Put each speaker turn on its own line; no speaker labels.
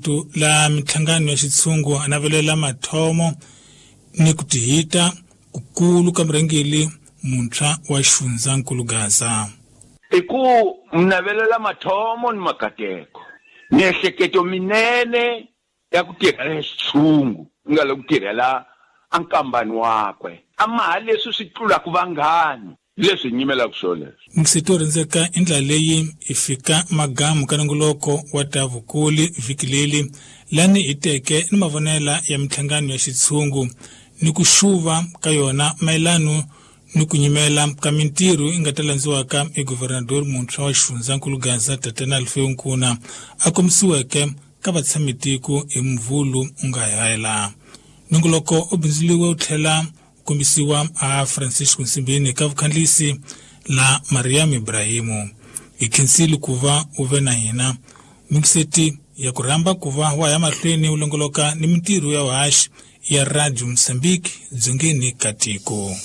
Marito la minhlangano ya xitshungu a navelela mathomo ni ku tihita kukulu ka murhangeri muntshwa wa xifundzankulu Gaza.
I ku navelela mathomo ni makateko, miehleketo minene ya ku tirhela xitshungu ku nga le ku tirhela a nkambani wakwe a maha leswi swi tlulaka vanghani leswi hi nyimelaka swoleswo.
Mixito rindzeka i ndlela leyi hi fika magamu ka nongoloko wa ta vukuli vhiki leri lani hi teke ni mavonela ya minhlangano ya xitshungu ni ku xuva ka yona mayelano ni ku nyimela ka mintirho yi nga ta landziwaka hi guvernador muntshwa wa xifundzankulu Gaza Tatana Alfeu Nkuna a kombisiweke ka vatshamitiko hi Muvhulu u nga hela. Nongoloko u bindzuriwe wu tlhela wu kombisiwa a Francisco Nsimbini ka vukhandlisi la Mariam Ibrahimu. Hi khensile ku va u ve na hina. Mingiseti ya ku rhamba ku va wa ya mahlweni u longoloka ni mintirho ya vuhaxi ya Radio Mozambique dzongeni ka tiko.